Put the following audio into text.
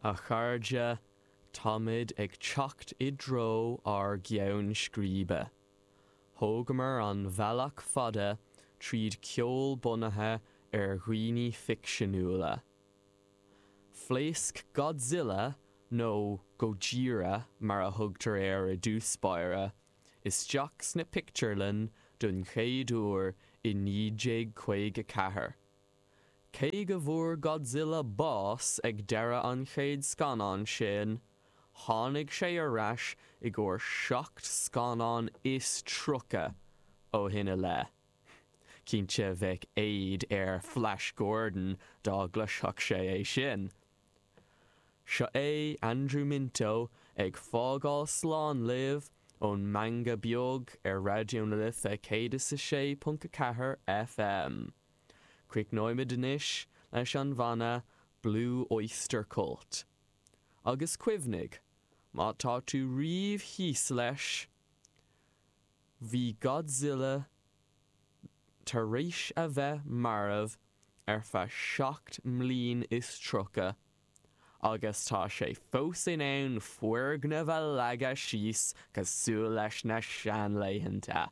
A chairde, táimid ag teacht i dtreo ár gceann scríbe. Thógamar an bealach fada tríd ceol bunaithe ar dhaoine ficseanúla. Phléasc Godzilla, nó Gojira mar a thugtar air i dtús báire, isteach sna pictiúrlanna don chéad uair i 1954. Cé go bhfuair Godzilla bás ag deireadh an chéad scannán sin, tháinig sé ar ais i gcomhair 37 scannán ó shin i leith. Cinnte bheadh éad ar Flash Gordon dá gcloisfeadh sé é sin. Seo é Andrew Minto ag fágáil slán libh ón Meangadh Beag ar Raidió na Life 106.4 FM. Críochnóimid anois leis an bhanna Blue Oyster Cult. Agus cuimhnigh, má tá tú riamh thíos leis, bhí Godzilla tar éis a bheith marbh ar feadh 37 mbliain agus tá sé fós in ann foirgneamh a leagadh síos cosúil leis na seanlaethanta.